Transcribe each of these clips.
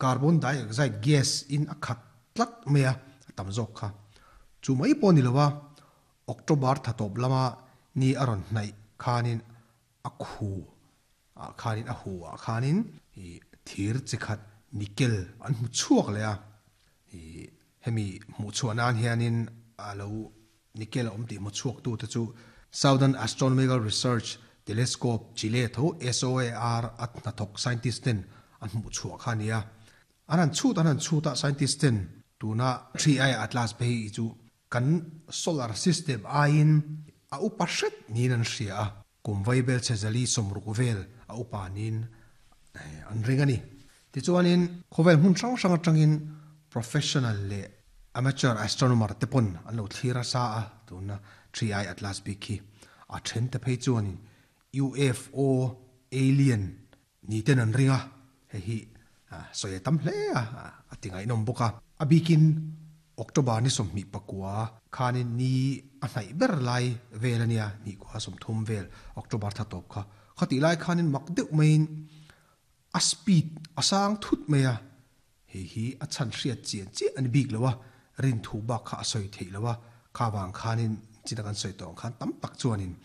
Carbon dioxide gas in a khat tlat mai a, a tam zawk kha. Chu mai pawh ni lo a, October tha tawp lama ni a rawn hnaih khanin a khu ah khanin a hu ah khanin ih thir chi khat nickel an hmu chhuak leh a, ih hemi hmuh chhuah nan hianin a lo nickel a awm tih hmu chhuak tu te chu Southern Astronomical Research Telescope Chile tho SOAR a hnathawk scientist ten an hmuh chhuah kha a ni a. An han chhut an han chhut a scientist ten tuna 3I Atlas phei chu Kan solar system aiin a upa hret niin an hria a, kum vaibel chhe zali 60 vel a upa niin an ring a ni. Tichuanin khawvel hmun hrang hrang atangin professional leh amateur astronomer te pawn an lo thlir a sa a, tuna 3I Atlas bik hi a then te phei chuanin UFO, alien, Ni ten an ring a, hei hi sawi a tam hle a, a ti ngaihnawm bawk a. A bikin October ni 29 khanin ni a hnaih ber lai vel a nia, ni kua 30 vel October thla tawp kha. Khatih lai khanin mak deuh maiin a speed a sang thut mai a, hei hi a chhan hriat chian chiah a ni bik lo a, rinthu bak kha a sawi theih lo a, kha vang khanin china kan sawi tawh ang khan tam tak chuanin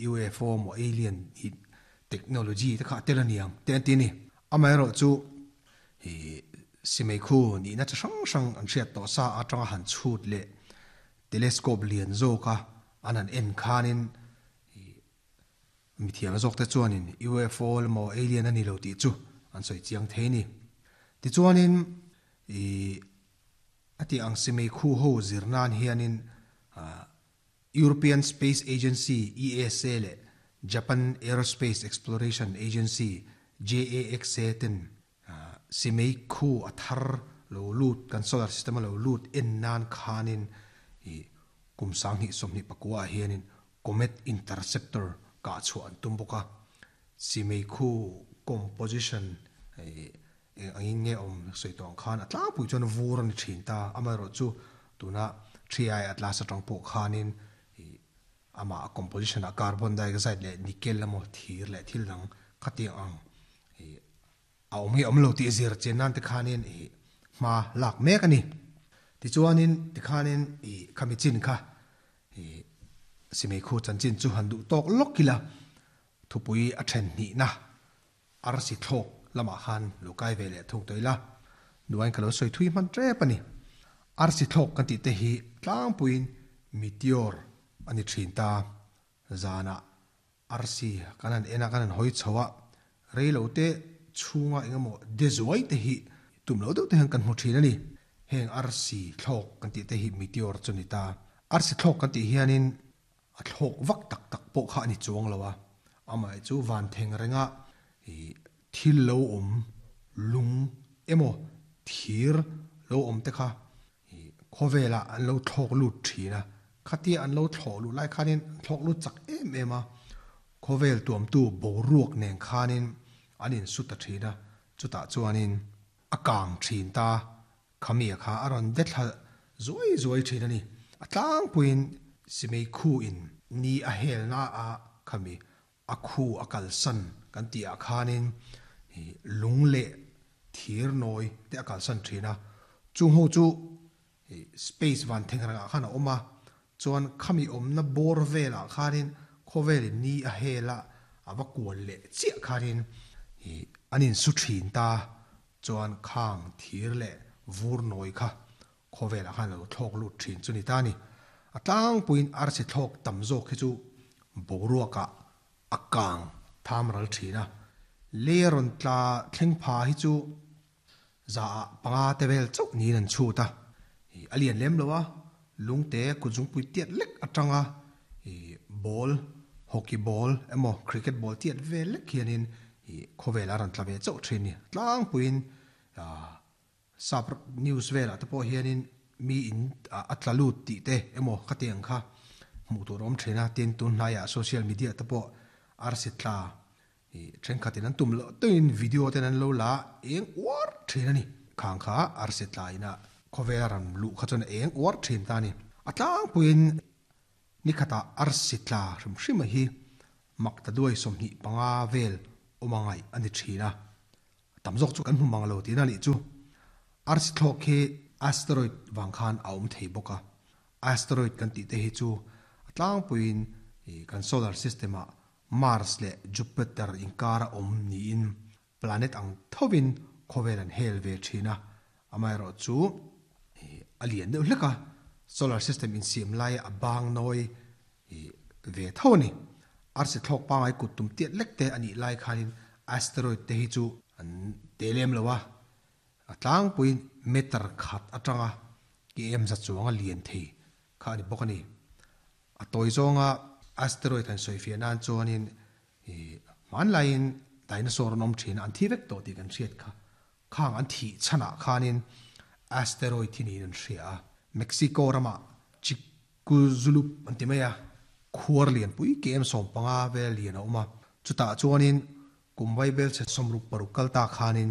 UFO maw alien hi Technology te kha a tel a niang te an ti a ni. Amaherawh chu hi simeikhu nihna chi hrang hrang an hriat tawh sa atanga han chhut leh telescope lian zawka an han en khanin hi mithiam zawk te chuanin UFO emaw alien a ni lo tih chu an sawi chiang thei a ni. Tichuanin i a tih ang simeikhu ho zir nan hianin European Space Agency, ESA, leh Japan Aerospace Exploration Agency, JAXA, ten simei khu a thar lo lut, kan solar system a lo lut en nan khanin ih kum 2024 ah hianin Comet Interceptor kah chhuah an tum bawk a. Simei khu composition ih Eng angin nge awm sawi tawh ang khan a tlangpui chuan vur a ni thin ta. Amaherawhchu tuna 3I Atlas atang pawh khanin ih amah a composition ah carbon dioxide leh nickel emaw thir leh thil dang khatiang ang ih a awm nge awm lo tih zir chian nan te khanin ih hma lak mek a ni. Tichuanin tikhanin ih khami chin kha ih simeikhu chanchin chu han duh tawk lawk ila thupui a then hnihna Arsi thlawk lamah khan lo kai ve leh thung tawh ila, nuain ka lo sawi thui hman tep a ni. Arsi thlawk kan tih te hi tlangpuiin meteor a ni thin ta. Zanah arsi kan han en a, kan han hawi chho a, rei lo te chhunga eng emaw de zuai te hi tum lo deuh te hian kan hmu thin a ni. Heng arsi thlawk kan tih te hi meteor chu a ni ta. Arsi thlawk kan tih hianin A thlawk vak tak tak pawh kha a ni chuang lo a, amah chu van theng renga ih thil lo awm lung emaw thir lo awm te kha ih khawvelah an lo thlawk lut thin a, khatia an lo thlawh luh lai khanin an thlawk lut chak em em a, khawvel tuamtu boruak nen khanin an insu ta thin a, chutah chuanin a kang thin ta. Khamia kha a rawn de thla zuai zuai thin a ni. A tlangpuiin Simei khu in ni a helna a khami a khu a kalsan kan tih ah khanin lung leh thir nawi te a kalsan thin a. Chung ho chu space van theng rengah khan a awm a, chuan khami awmna bawr velah khanin khawvelin ni a hel a a va kual leh chiah khanin an insu thin ta. Chuan khang thir leh vur nawi kha khawvelah khan a lo thlawk lut thin chu ni ta a ni. A tlangpuiin arsi thlawk tam zawk hi chu boruakah a kang tham ral thin a, lei a rawn tla thleng pha hi chu zaah panga te vel chauh niin an chhut a, a lian lem lo a, lungte kutzungpui tiat lek atanga ball, hockey ball emaw cricket ball tiat vel lek hianin Ih, khawvel a rawn tla ve chauh thin ni. Tlangpuiin sap news velah te pawh hianin mi in a tla lut tih te emaw khati ang kha hmuh tur a awm thin a, tin tun hnaiah social media te pawh arsi tla ih thenkhatin an tum loh tawhin video ten an lo la eng uar thin a ni. Khang kha arsi tla ina khawvel a rawn luh kha chuan a eng uar thin ta a ni. A tlangpuiin Nikhatah arsi tla hrim hrim a hi mak ta duai 25 vel awm a ngaih a ni thin a. Tam zawk chu kan hmu mang lo tihna a nih chu. Arsi thlawk hi asteroid vang khan a awm thei bawk a. Asteroid kan tih te hi chu a tlangpuiin kan solar system ah Mars leh Jupiter inkara awm niin planet ang thovin khawvel an hel ve thin a. Amaherawh chu a lian deuh hlek a, solar system insiam laia a bang nawi ve tho a ni. Arsi thlawk pangai kut tum tiat lek te a nih lai khanin asteroid te hi chu an te lem lo a, a tlangpuiin meter khat atanga km za chuanga lian thei kha a ni bawk a ni. A tawi zawnga asteroid han sawi fiah nan chuanin hmanlaiin dinosaur an awm thin a, an thi vek tawh tih kan hriat kha. Khang an thih chhanah khanin asteroid hi niin an hria a. Mexico ramah Chicxulub an ti mai a, khuar lianpui km 15 vel lian a awm a. Chutah chuanin kum vaibelchhe 66 kal ta khanin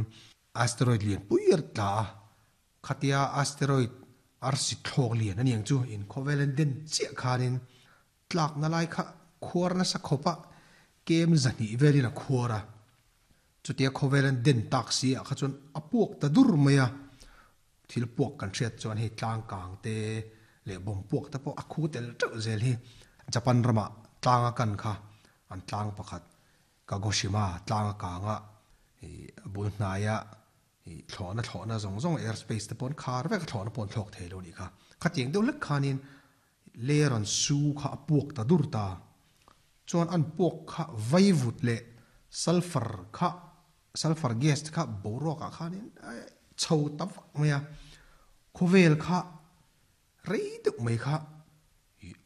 asteroid lianpui a tla a. Khatia asteroid arsi thlawk lian a niang chu inkhawvel an den chiah khanin tlakna lai kha khuar nasa khawp a, kem 200 velin a khuar a. Chutia khawvel an den tak si ah kha chuan a puak ta dur mai a, thil puak kan hriat chuan hei tlang kang te leh bawm puak te pawh a khu tel teuh zel hi. Japan ramah tlang a kan kha an tlang pakhat Kagoshima tlang a kang a, a bul hnaia Thlawhna thlawhna zawng zawng air space te paw'n khar vek a thlawhna paw'n thlawk thei lo nih kha. Khatiang deuh hlek khanin layer an su kha a puak ta dur ta. Chuan an puak kha vaivut leh sulphur kha sulphur gas te kha boruakah khanin chho ta vak mai a. Khawvel kha rei deuh mai kha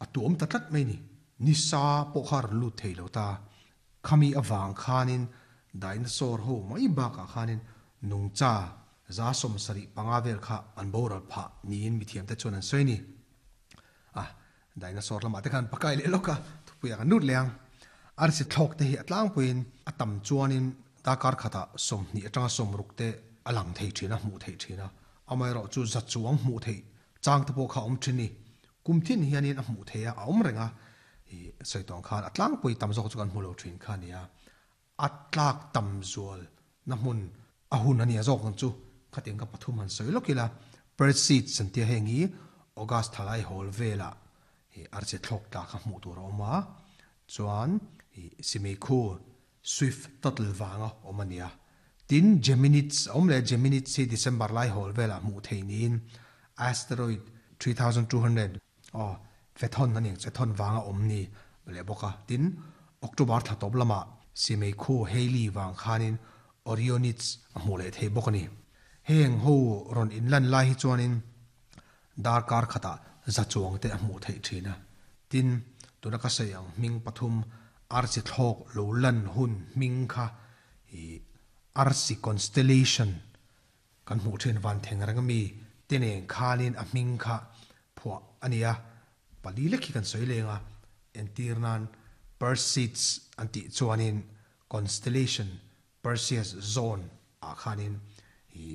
a tuam ta tlat mai ni. Nisa pawh kha a rawn lut thei lo ta. Khami avang khanin dinosaur ho mai bakah khanin nungcha 75 vel kha an boral phah niin mithiamte chuan an sawi a ni. A, dinosaur lamah te khan pakai leh lawk a, thupuiah kan lut leh ang. Arsi thlawk te hi a tlangpuiin a tam chuanin darkar khatah 20 atanga 60 te a lang thei thin a, hmuh theih thin a. Amaherawhchu za chuang hmuh theih Chang te pawh kha a awm thin ni. Kum thin hianin a hmuh theih a, a awm reng a. I sawi tawng khan a tlangpui tam zawk chu kan hmu lo thin kha a nia. A tlak tam zual na hmun a hun a nia zawk ang chu. Khatiang ka pathum han sawi lawk ila, Perseid an tia heng hi August thalai hawl velah i arche thlawk tla kha hmuh tur a awm a. Chuan i Simeikhu Swift Tuttle vanga awm a nia. Tin, Geminids a awm leh a, Geminids hi December lai hawl velah hmuh theih niin asteroid 3200 aw Phaethon a ni ang, Phaethon vanga awm ni leh bawk a. Tin, October thla tawp lamah Simeikhu Halley vang khanin Orionids a hmuh leh thei bawk a ni. Heng ho rawn inlan lai hi chuanin Darkar khatah za chuang te a hmuh theih thin a. Tin, tuna ka sawi ang hming pathum arsi thlawk lo lan hun hming kha i arsi constellation kan hmuh thin van theng reng ami te nen khanin a hming kha phuah a ni a. Pali lek hi kan sawi leng a, entir nan Perseids an tih chuanin constellation Perseus zone ah khanin i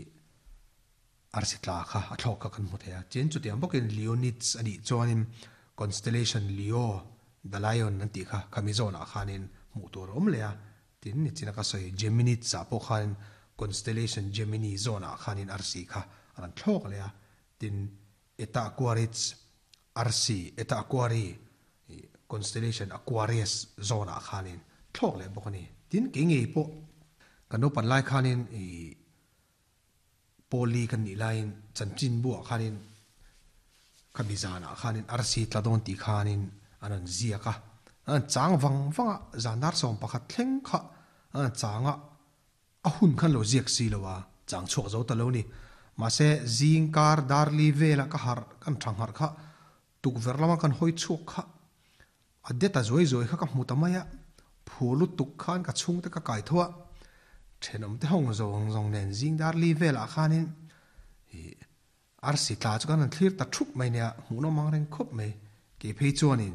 Arsi tla kha a thlawk kha kan hmu thei a. Tin, chutiang bawkin Leonids a nih chuanin constellation Leo, the lion an tih kha khami zawnah khanin hmuh tur a awm leh a. Tin, nichina ka sawi Geminids ah pawh khanin constellation Gemini zawnah khanin arsi kha a rawn thlawk leh a. Tin, Eta Aquarids arsi, Eta Aquarii, constellation Aquarius zawnah khanin thlawk leh bawk a ni. Tin, kei ngei pawh kan naupan lai khanin ih Pawli kan nih laiin chanchin buah khanin khami zanah khanin arsi tla dawn tih khanin an rawn ziak a, an rawn chang vang vang a, zan dar 11 thleng kha an rawn chang a, a hun khan lo ziak si lo a, chang chhuak zo ta lo ni. Mahse zing kar dar li vela ka harh kan tha ngharh kha tukverh lama kan hawi chhuak kha A det a zuai zuai kha ka hmu ta mai a, phur lutuk khan ka chhungte ka kai tho a, thenawm te hawng zawng zawng nen zing dar li velah khanin ih arsi tla chu kan han thlir ta thup mai nia, hmuhnawm ang reng khawp mai. Kei phei chuanin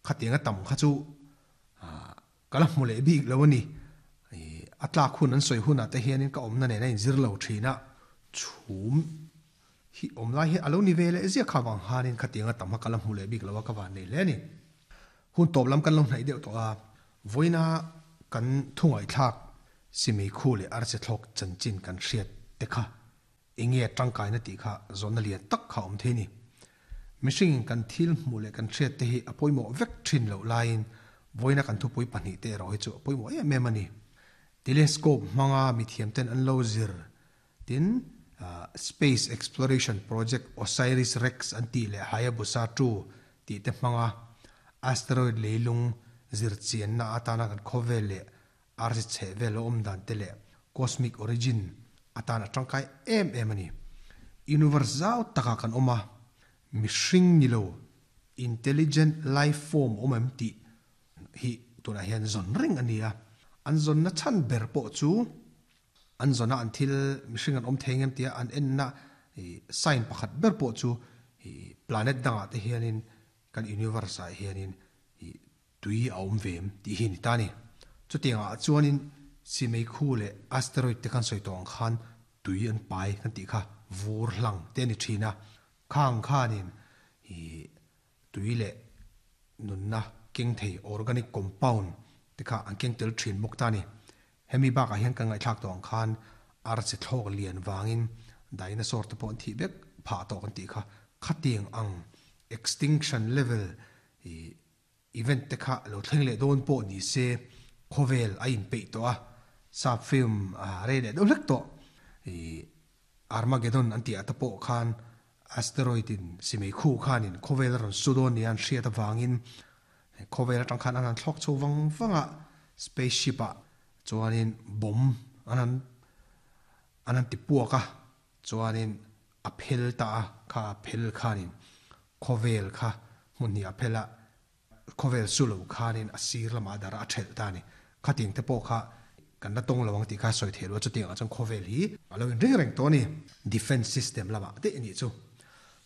khatiang a tam kha chu ah ka la hmu leh bik lo a ni. Ih a tlak hun an sawi hunah te hianin ka awmna nen a inzir lo thin a, chhum Hi awm lai hi a lo ni ve leh ziak kha vang hanin khatiang a tam kha ka la hmu leh bik lo a ka van nei hle a ni. Hun tawp lam kan lo hnaih deuh tawh a, vawiina kan thu ngaihthlak Simei khu leh arsi thlawk chanchin kan hriat te kha enge a tangkaina tih kha zawhna lian tak kha a awm thei a ni. Mihringin kan thil hmuh leh kan hriat te hi a pawimawh vek thin loh laiin vawiina kan thupui pahnihte erawh hi chu a pawimawh em em a ni. Telescope hmanga mithiamten an lo zir tin, Space Exploration Project Osiris-Rex an tih leh Hayabusa 2 tih te hmanga asteroid leilung zir chianna atana kan khawvel leh arsi chheh vel a awm dan te leh cosmic origin atan a tangkai em em a ni. Universe zau takah kan awm a, mihring ni lo intelligent life form awm em tih hi tunah hian zawn reng a ni a, an zawnna chhan ber pawh chu an zawna an thil mihring an awm thei ngem tia an enna sign pakhat ber pawh chu planet dangah te hianin kan universe ah hianin tui a awm ve em tih hi a ni ta a ni. Chutiangah chuanin Simeikhu leh asteroid te khan sawi tawh ang khan tui an pai kan tih kha vur hlang te a ni thin a, khang khanin tui leh nunna keng thei organic compound te kha an keng tel thin bawk ta a ni. Hemi bakah hian kan ngaihthlak tawh ang khan arsi thlawk lian vangin dinosaur te pawh an thih vek phah tawh kan tih kha khatiang ang extinction level event te kha lo thleng leh dawn pawh ni se khawvel a inpeih tawh a, sap film a rei leh deuh hlek tawh Armageddon an tih ah te pawh khan asteroid in simei khu khanin khawvel a rawn su dawn nia an hriat avangin khawvel atang khan an han thlawk chho vang vang a, spaceship ah chuanin bomb an han an han ti puak a, chuanin a phel ta a, kha a phel khanin khawvel kha hmun hnih a phel a, Khawvel su lo khanin a sir lamah dar a thelh ta a ni. Khatiang te pawh kha kan la tawng lo ang tih kha sawi theih loh a, chutiangah chuan khawvel hi a lo inring reng tawh a ni. Defence system lamah daih a nih chu.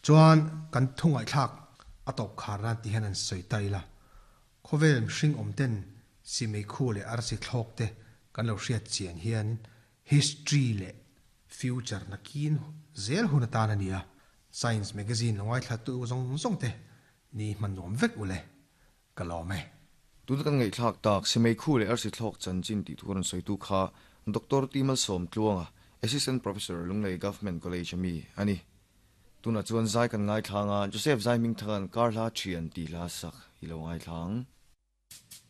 Chuan kan thu ngaihthlak a tawp khar nan ti hian an sawi ta ila. Khawvel mihring awm ten simeikhu leh arsi thlawk te kan lo hriat chian hian history leh future nakin zel hun atan a ni a. Science magazine lo ngaithlatu zawng zawng te Ni hman nuam vek ule, ka lawm e. Tuna kan ngaihthlak tak, Simeikhu leh Arsi Thlawk chanchin tih thu rawn sawitu kha Doctor T Malsawm Tluanga, Assistant Professor, Lunglei Government College a mi a ni. Tunah chuan zai kan ngaithlang a, Joseph Zai Hmingthanga'n Kar Hla Thian tih hla sak i lo ngaithlang.